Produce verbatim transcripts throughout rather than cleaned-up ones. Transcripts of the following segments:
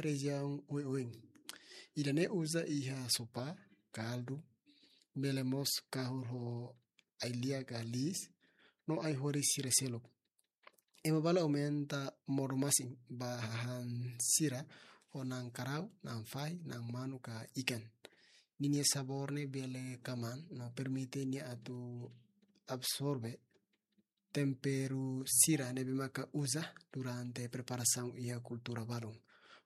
rejiaun oioin. Ida-ne'e uza iha sopa, kaldu, bele mós kahur ho ai-lia ka liis, no ai-horis sira seluk. Ema balu aumenta modo-masin ba hahán sira ho na'an karau, na'an fahi, na'an manu ka ikan. Ninia sabór ne'e bele kamaan, no permite nia atu absorve temperu sira ne'ebé maka uza durante preparasaun iha kultura balun.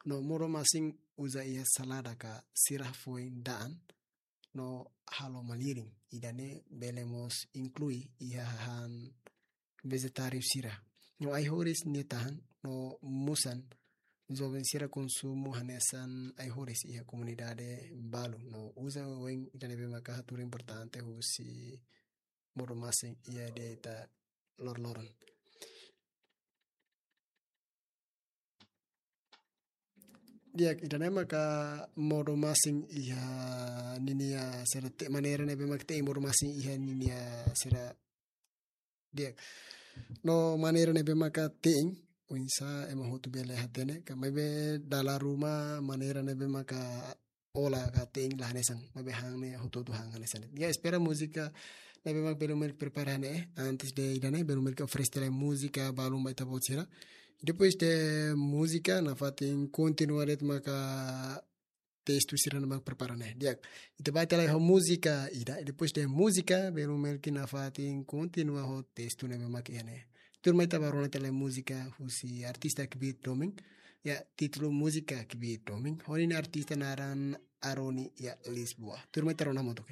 No modo-masin uza iha salada ka sira foin da'an no halo malirin. Ida-ne'e bele mós inklui iha hahán vejetáriu sira. No ai-horis nia tahan no musan joven sira konsumu hanesan ai-horis iha komunidade balu. No uza oioin ida ne'ebé maka hatudu importante husi modo-masin iha dieta loroloron. Di'ak, ida-ne'e maka modo-masin iha ninia sira te-, maneira ne'ebé maka te'in modo-masin iha ninia sira. Di'ak. No maneira ne'ebé maka te'in, oinsá ema hotu bele hatene, ka maibé dala ruma maneira ne'ebé maka ola ka te'in la hanesan, maibé han ne'e hotu-hotu han hanesan. Ya, espera múzika ne'ebé mak belun melik prepara ne'e, antes de ida-ne'e, belun melik oferese tiha lai múzika balun ba ita-boot sira. Depois de múzika, nafatin kontinua de'it maka testu sira ne'ebé mak prepara ne'e. Di'ak, ita bá tiha lai ho múzika ida, depois de múzika, belun melik nafatin kontinua ho testu ne'ebé mak iha ne'e. Tuirmai ita bá rona tiha lai múzika husi artista kbiit domin. Ya, títulu múzika kbiit domin. Ho ninia artista naran Aroni iha Lisboa. Tuirmai ita rona hamutuk.